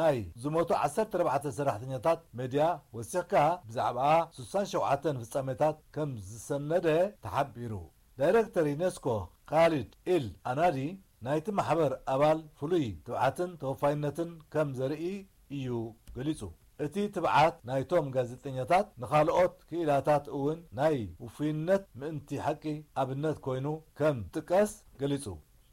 ናይ ዝሞቱ ዓሰርተ ኣርባዕተ ሰራሕተኛታት ሜድያ ወሲኽካ ብዛዕባ ስሳን ሸውዓተን ፍጻሜታት ከም ዝሰነደ ተሓቢሩ። ዳይረክተር ዩኔስኮ ካሊድ ኢል ኣናዲ ናይቲ ማሕበር ኣባል ፍሉይ ትብዓትን ተወፋይነትን ከም ዘርኢ እዩ ገሊጹ። እቲ ትብዓት ናይቶም ጋዜጠኛታት ንኻልኦት ክኢላታት እውን ናይ ውፉይነት ምእንቲ ሓቂ ኣብነት ኮይኑ ከም ጥቀስ ገሊጹ።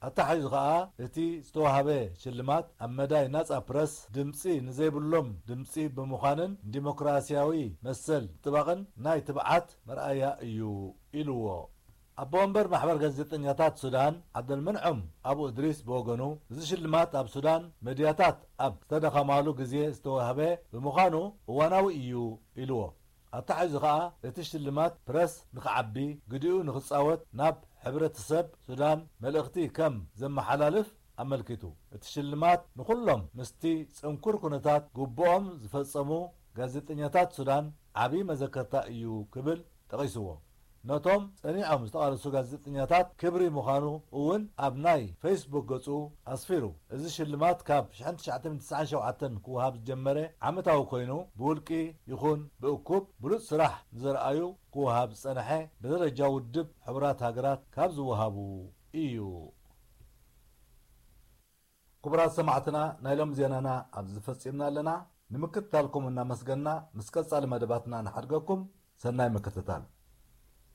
ኣተሓሒዙ ኸኣ እቲ ዝተዋህበ ሽልማት ኣብ መዳይ ናጻ ፕረስ ድምጺ ንዘይብሎም ድምጺ ብምዃንን ዲሞክራሲያዊ መሰል ምጥባቕን ናይ ትብዓት መርኣያ እዩ ኢልዎ። ኣቦ ወንበር ማሕበር ጋዜጠኛታት ሱዳን ዓብደልመንዖም ኣቡ እድሪስ ብወገኑ፣ እዚ ሽልማት ኣብ ሱዳን መድያታት ኣብ ዝተደኸማሉ ግዜ ዝተዋህበ ብምዃኑ እዋናዊ እዩ ኢልዎ። ኣተሓሒዙ ኸኣ እቲ ሽልማት ፕረስ ንኽዓቢ፣ ግዲኡ ንኽጻወት ናብ ሕብረተሰብ ሱዳን መልእኽቲ ከም ዘመሓላልፍ ኣመልኪቱ። እቲ ሽልማት ንኹሎም ምስቲ ጽንኩር ኩነታት ግቡኦም ዝፈጸሙ ጋዜጠኛታት ሱዳን ዓቢ መዘከርታ እዩ ክብል ጠቒስዎ። ነቶም ጸኒዖም ዝተቓለሱ ጋዜጠኛታት ክብሪ ምዃኑ እውን ኣብ ናይ ፌስቡክ ገጹ ኣስፊሩ። እዚ ሽልማት ካብ ሽሕን ትሽዓተ ሚእትን ትስዓን ሸውዓተን ክወሃብ ዝጀመረ ዓመታዊ ኮይኑ፣ ብውልቂ ይኹን ብእኩብ ብሉጽ ስራሕ ንዘርኣዩ ክወሃብ ዝጸንሐ፣ ብደረጃ ውድብ ሕቡራት ሃገራት ካብ ዝወሃቡ እዩ። ክቡራት ሰማዕትና፣ ናይ ሎም ዜናና ኣብዚ ፈጺምና ኣለና። ንምክትታልኩም እናመስገና፣ ምስ ቀጻሊ መደባትና ንሓድገኩም። ሰናይ ምክትታል።